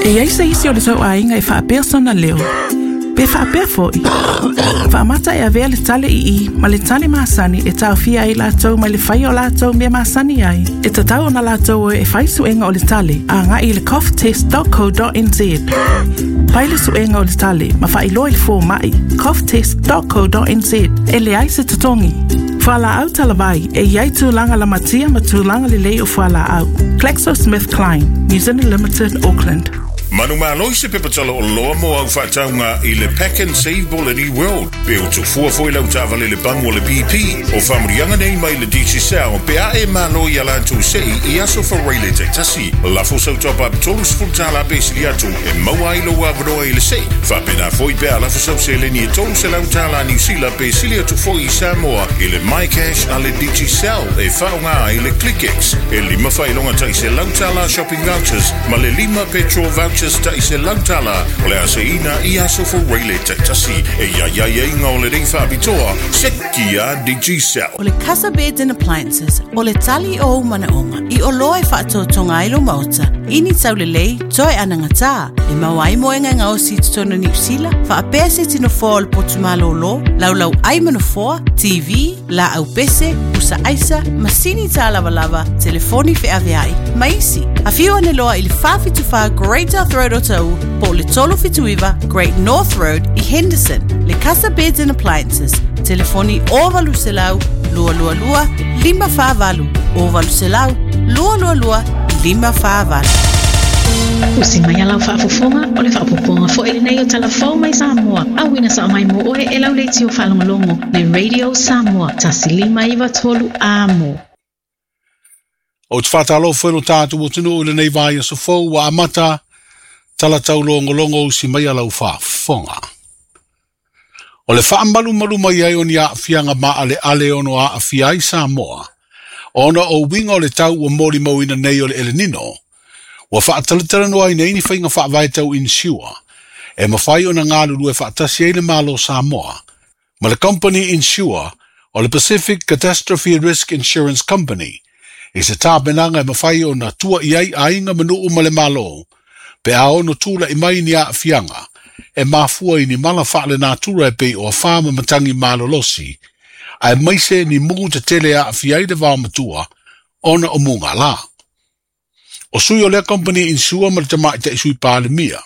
E i ai se isi o le tou aiga e faapea sona leo, pe faapea foi. Faamata e avea le tale i i ma le tale masani e taofia ai latou mai le faia o latou mea masani ai. E tatau ona latou o e fai suega o le tale agai i le coughtest.co.nz. Fai le suega o le tale ma faailoa i le fomai coughtest.co.nz e leai se totogi. Fualaau talavai e i ai tulaga lamatia ma tulaga lelei o fualaau. GlaxoSmithKline, New Zealand Limited, Auckland. Manumalo i se pepa tala oloa mo au faatauga i le Pack and Save Bolani World. Pe o tufua foi lau taavale le pamu o le BP. O faamanuiaga nei mai le Digicel pe a e malo ia latou sei i aso Faraile taitasi. Lafo sau top-up $30 pe sili atu e maua ai lou avanoa i le sei. Faapena foi pe a lafo sau seleni e $300 Niu Sila pe sili atu foi i Samoa i le MyCash a le Digicel e faaaoga ai le ClickX. E lima faailoga tai $100 shopping vouchers ma le lima petrol vouchers tai $100 o le a seiina i aso Faraile taitasi. E ia i aiaiga o lenei faapitoa, seki a Digicel. O le Casa Beds and Appliances, o le tali o ou manaoga, i oloa e faatotoga ai lou maota, i ni taulelei, toe anagatā, e maua ai moega e gaosi i totonu o Niu Sila, faapea se tino foa o le potu malōlō, laulau ai ma nofoa, TV, laau pese, pusa aisa, masini tālavalava, telefoni feaveai, ma isi. Afio ane loa i le 474 Great South Road o Taʻu, po o le 379 Great North Road i Henderson. Le Casa Beds and Appliances, telefoni 0800 222 548, 0800 222 548. Usi mai a lau faafofoga, o le faaopoopoga foi lenei o Tala Fou mai Samoa, auina sao mai mo oe e lau leitio faalogologo, le Radio Samoa, 1593 Amo. Ou te faatalofa i lo tatou atunuu i lenei vaiaso fou ua amata tala taulogologo usi mai a lau faafofoga. O le faamalumalu mai ai o ni aafiaga maaleale e ono aafia ai Samoa, ona o uiga o le tau ua molimauina nei o le El Nino, ua faatalatalanoaina ai ni faiga faavae tau insure e mafai ona galulue faatasi ai le Malo o Samoa ma le Company Insure o le Pacific Catastrophe Risk Insurance Company i se tapenaga e mafai ona tua i ai aiga ma nuu ma le Malo pe a ono tula'i mai ni aafiaga e mafua i ni mala faalenatura e pei o afa ma matagi malolosi, aemaise ni mugu tetele e aafia ai le vaomatua ona o mugala. O sui o lea kompani insure ma le tamaitai Sui Palemia,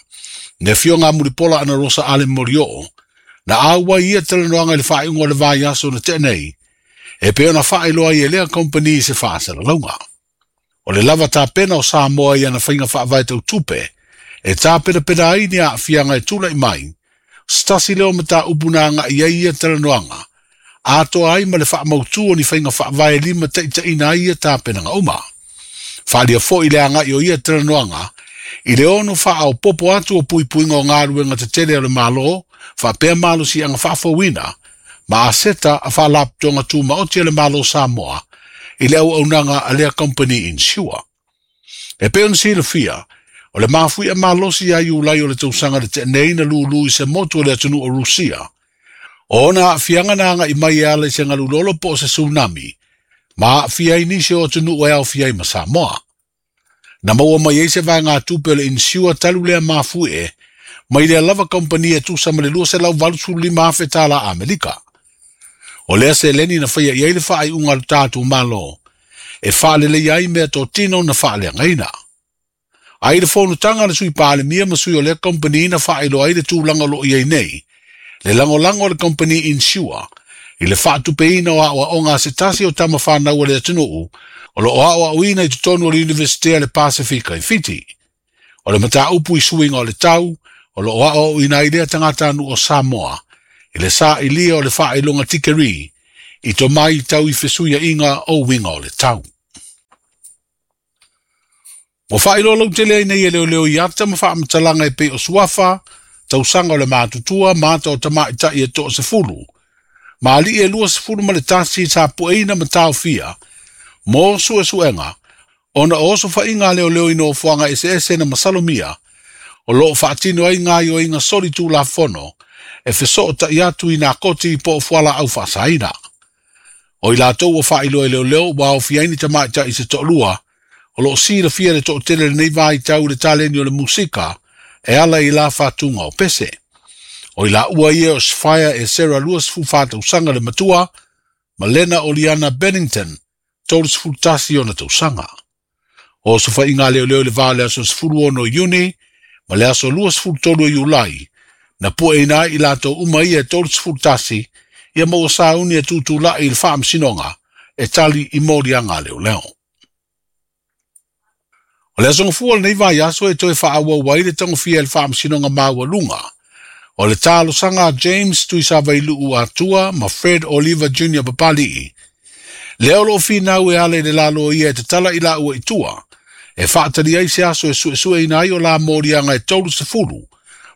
le Afioga a Mulipola Anarosa Ale Molioo, na auai i ia talanoaga i le faaiuga o le vaiaso na tea nei, e pei ona faailoa ai e lea kompani i se faasalalauga. O le lava tapena o Samoa i ana faiga faavae tau tupe e tapenapena ai ni aafiaga e tula'i mai, se tasi lea o mataupu na aga'i ai ia talanoaga, atoa ai ma le faamautū o ni faiga faavae e limataitaiina ai ia tapenaga uma. Faaalia foi le aga'i o ia talanoaga i le ono faaopoopo atu o puipuiga o galuega tetele a le Malo faapea malosiaga faafouina ma aseta a Faalapotopotoga Tumaoti a le Malo o Samoa i le auaunaga a lea kompani insure. E pei ona silafia, o le mafui'a malosi ia Iulai o le tausaga na tea nei na lūlū i se motu o le atunuu o Rusia. O ona aafiaga na aga'i mai e ala i se galu lolo po o se tsunami, ma aafia ai nisi o atunuu e aofia ai ma Samoa. Na maua mai ai se vaegatupe o le insure talu lea mafui'e mai lea lava kompani e tusa ma le $285,000 tālā Amerika. O lea seleni na faia i ai le faaiuga a lo tatou Malo e faaleleia ai meatotino na faaleagaina. A i le fonotaga a le Sui Palemia ma sui o lea kompani na faailoa ai le tulaga o lo o i ai nei, le lagolago a le kompani insure i le faatupeina o aoaoga a se tasi o tama fanau a le atunuu o lo o aoaoina i totonu o le Iunivesite a le Pasefika i Fiti. O le mataupu i suiga o le tau o lo o aoaoina ai lea tagatanuu o Samoa i le sailia o le faailoga tikeri i tomai tau i fesuiaiga o uiga o le tau. Ua faailoa lautele ai nei e leoleo i ata ma faamatalaga e pei o suafa, tausaga o le matutua ma ata o tamaitai e toasefulu, ma alii e 21 sa pueina ma taofia mo suesuega ona o osofaiga a leoleo i nofoaga eseese na masalomia o lo o faatino ai gaoioiga solitulafono e fesoota'i atu i nā koti po o fualaau faasaina. O i latou ua faailoa e leoleo ua aofia ai ni tamaitai se toalua o lo o silafia le toatele i lenei vaitau i le taleni o le musika e ala i la fa'atuga o pese. O i la'ua ia o Sfaia e Sarah 24 tausaga le matua, ma Lena Oliana Bennington, 31 ona tausaga. O sofa'iga leoleo i le va o le aso 16 Iuni ma le aso 23 o Iulai, na pueina ai i latou uma ia e 31, ia ma ua sauni e tutula'i i le faamasinoga e tali i moliaga a leoleo. O le aso gafua o lenei vaiaso e toe faaauau ai le tagofia e le faamasinoga maualuga o le talosaga a James Tuisavailu'u Atua ma Fred Oliver Jr Papali'i, lea o loo finau e ala i le lalo ia e tatala i laua i tua e faatali ai se aso e suesueina ai o la moliaga e 30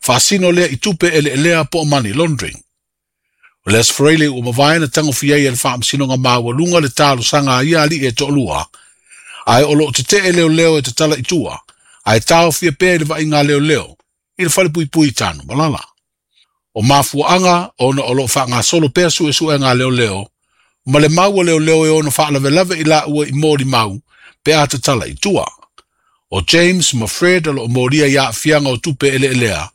faasino lea i tupe eleelea po o money laundering. O le Aso Faraile ua mavae na tagofia ai e le faamasinoga maualuga le talosaga a ia ali'i e to'alua, ae o loo tete'e leoleo e tatala i tua, ae taofia pea i le vaaiga a leoleo i le falepuipui i Tanumalala. O mafua'aga ona o loo faagasolo pea su'esu'ega a leoleo ma le mau a leoleo e ono faalavelave i laua i molimau pe a tatala i tua. O James ma Fred o loo molia i aafiaga o tupe eleelea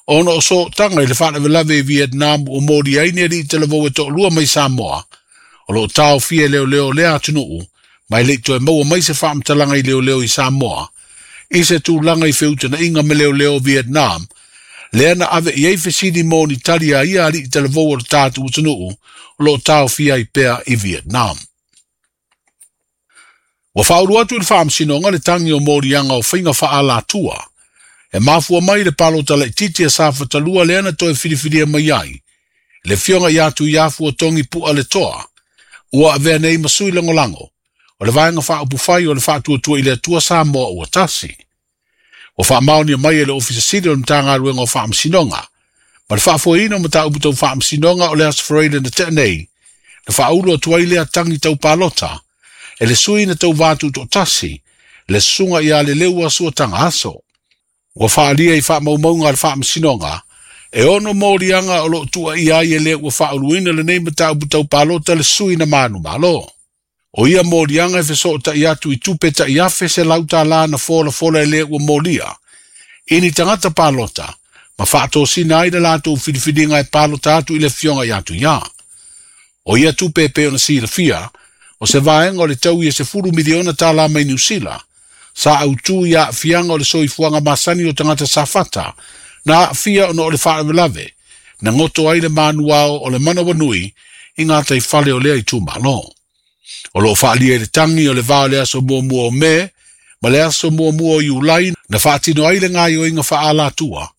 ona o sootaga i le faalavelave i Vietnam ua molia ai ni ali'i talavou e to'alua mai Samoa o loo taofia e leoleo o lea atunu'u, ma e le'i toe maua mai se faamatalaga i leoleo i Samoa i se tulaga i feutana'iga ma leoleo o Vietnam lea na ave i ai fesili mo ni tali a ia ali'i talavou o le tatou atunu'u o loo taofia ai pea i Vietnam. Ua faaulu atu i le faamasinoga le tagi o moliaga o faiga faaalatua e mafua mai le palota laitiiti a Safatalua lea na toe filifilia mai ai le afioga ia Tuiafu o Togi Pu'a le Toa, ua avea nei ma sui lagolago o le Vaega Faaupufai o le Faatuatua i le Atua Samoa ua Tasi. Ua faamaonia mai e le Ofisa Sili o le Matagaluega o Faamasinoga ma le faafoeina o mataupu tau faamasinoga o le Aso Faraile na tea nei, na faaulu atu ai lea tagi tau palota e le sui na tauvā tuto'atasi le susuga ia Leleua Suataga Aso. Ua faaalia i faamaumauga a le faamasinoga e ono moliaga o loo tuuaia ai e le ua faauluina lenei mataupu tau palota le sui na manumalo. O ia moliaga e fesoota'i atu i tupe ta'i afe $100 na folafola e le ua molia i ni tagata palota ma faatosina ai le latou filifiliga e palota atu i le afioga ia Tuiā. O ia tupe e pei ona silafia, o se vaega o le taui e $10 miliona mai Niu Sila, sa autū i aafiaga o le soifuaga masani o tagata safata na aafia ona o le faalavelave na goto ai le manuao o le manawanui i gataifale o lea itumalo. O loo faalia i le tagi o le va o le aso muamua o Me ma le aso muamua o Iulai na faatino ai le gaioiga faaalatua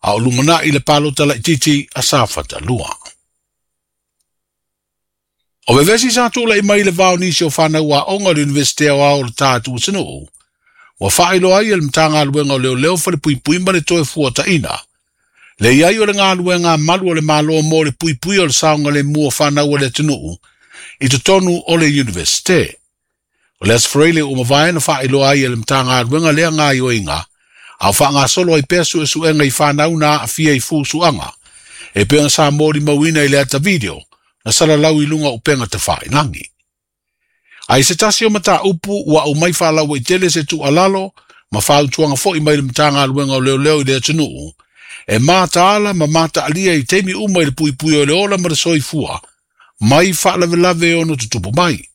a o lumana'i le palota laitiiti a Safatalua. O vevesi sa tula'i mai le va o nisi o fanau aoga o le Iunivesite Aoao o le tatou atunuu, ua faailoa ai e le Matagaluega o Leoleo Falepuipui ma le Toe Fuataʻina le i ai o le galuega a malu o le Malo mo le puipuia o le saogalemu o fanau a le atunuu i totonu o le Iunivesite. O le Aso Faraile ua mavae na faailoa ai e le Matagaluega lea gaioiga, a o faagasolo ai pea suesuega i fanau na aafia i fusuaga e pei ona sa molimauina i le ata video na salalau i luga o upega tafailagi. A i se tasi o mataupu ua aumai faalauaitele se tuualalo ma fautuaga foi mai le Matagaluega o Leoleo i le atunuu, e mataala ma mataalia i taimi uma i le puipui o le ola ma le soifua mai faalavelave e ono tutupu mai.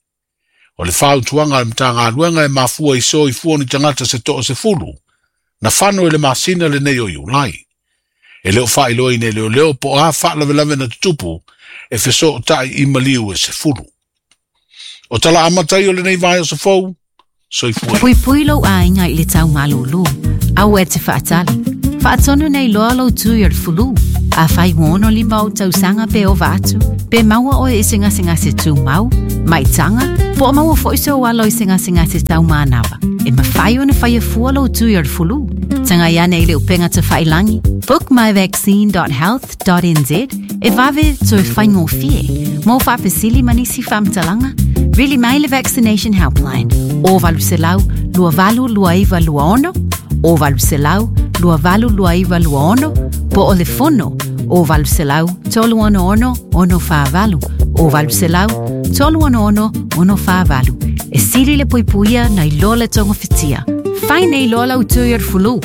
O le fautuaga a le Matagaluega e mafua i soifua o ni tagata se 60 na fano i le masina lenei o Iulai. E le o faailoaina e leoleo po o a faalavelave na tutupu e fesoota'i i maliu e 10. O tala amata ia o lenei vaiaso fou, soifua ia. Puipui lou aiga i le tau malūlū. Aua e te faatali. Faatonu nei loa lou tui o le fulu. Afai ua 65 ou tausaga pe ova atu, pe maua oe i se gasegase tumau, maitaga, po o maua foi sou alo i se gasegase taumanava, e mafai ona faia fua lou tui o le fulu. Tagai ane i le upega tafailagi, bookmyvaccine.health.nz, e vave toe faigofie. Mo faafesili ma nisi faamatalaga, vili mai le Vaccination Helpline o 800 2829 26 o 800 2829 26 po o le fono o 800 366 648 o 800 366 648. E sili le puipuia nai lo le togafitia. Fai nei loa lau tui o le fulu.